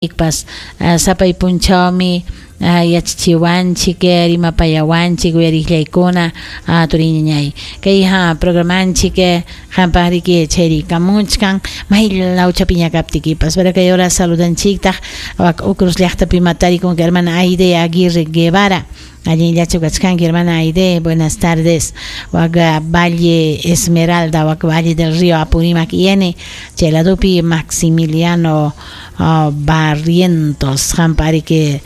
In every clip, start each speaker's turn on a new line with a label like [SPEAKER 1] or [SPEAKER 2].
[SPEAKER 1] Pas sapay punchawmi yachachiwanchik, rimapayawanchik uyariqllaykuna turiñañay. Kay programanchik qampaqriki chayrikamuchkan may lawchapiña kaptikipas. Pero kay hora saludanchiktaq wak Ucruz llaqtapi matarikunki hermana Aide Aguirre Guevara. Allinllachu kachkanki hermana Aide, buenas tardes. Wak Valle Esmeralda, wak Valle del Río Apurímac N, chay ladopi Maximiliano Barrientos, qampariki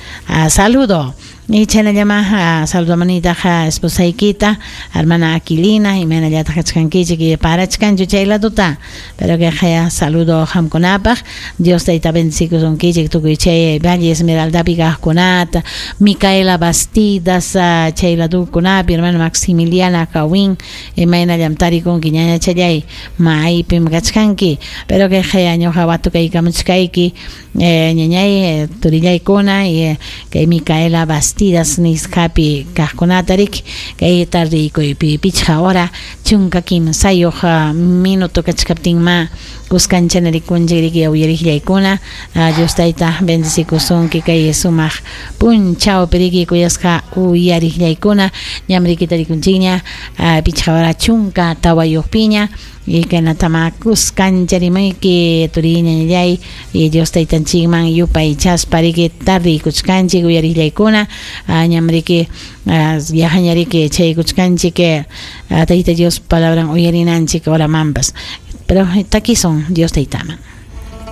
[SPEAKER 1] saludo. Y chaynallama saludamanitaqa esposaykita, hermana Aquilina, imaynallataq kachkankichik y parachkanchu chay laduta. Pero que saludo qamkunapaq, Dios tayta bendecikusunkichik tukuy chay Valle Esmeraldapi kaqkunata, Micaela Bastidas chay ladukunapi, hermana Maximiliana Kawin, imaynallam tarikunki ñañachallay, maypim kachkanki. Pero que ñuqa watukaykamuchkayki, ñañay, turillaykuna, y kay Micaela Bastidas nisqapi kaqkunata riki, kay tardikuypi pichqa hora 13 minuto kachkaptinma kuskanchana rikunchik riki uyariqllaykuna. Dios tayta bendecikusunki kay sumaq punchawpi riki kuyasqa uyariqllaykuna, ñam rikita rikunchikña 5 hora 14piña. Y kaynatama kuskancha rimayki turiñañallay, y Dios taytanchikman yupaychaspa riki tardiykuchkanchik uyariqllaykuna, ñam riki yajaña riki chaykuchkanchik Tayta Dios palabran uyarinanchik horamanpas. Pero takisun Dios taytaman.